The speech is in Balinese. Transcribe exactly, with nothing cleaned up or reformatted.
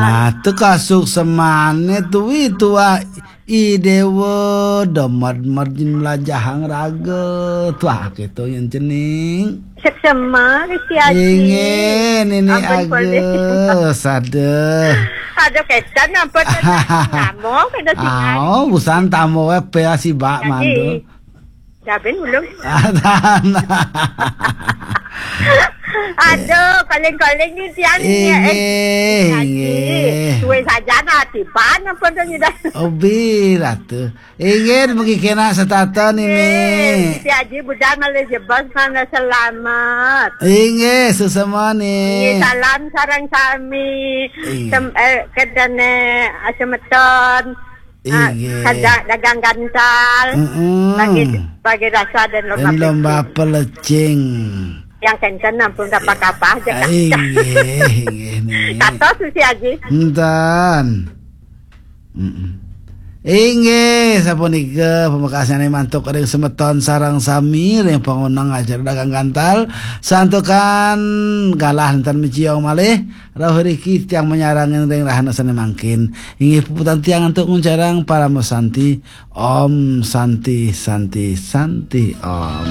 Atuh kasuksemane tuwi tuah I Dewa, demed-med nyen melajahang raga. Tuah, kitu nyen cening. Seksema, Gusti Aji. Inggih, Nini Ampun, Polih. Agus. Aduh, kecan ampun, kecan. Namo, kena singan. Aoh, busan tamu we pe asibak mandu. Dabin ulung. Aduh, calling-calling ni tiang ni, eh. Inggih, Aji. Inggih. Suwe saja nah, tiban ampun tu nyedak. Obi, Ratu. Inggih, mugi kena setata Nini. Inggih, Siti Aji budal malih jebos malih selamat. Inggih, suksema Ni. Inggih, salam sareng sami. Inggih. Sem-, eh, kedene, ah, semeton. Ah, inggih. Kada dagang gantal. Mm-mm. Bagi, bagi rasa dan lomba, dan lomba pelecing. Pelecing. Yang kencen ampun kapah-kapah aja. Inggih, inggih Ni. Kata Susi Aji. Enten. Mm-mm. Inggih, sapunika pamekasane mantuk ring semeton sareng sami ring pangonang acara dagang gantal. Santukan galah nenten maciong malih, rauh riki tiang manyarengin ring rahina sane mangkin. Inggih puputang tiang antuk nguncarang parama santi. Om Santi, Santi, Santi, Om.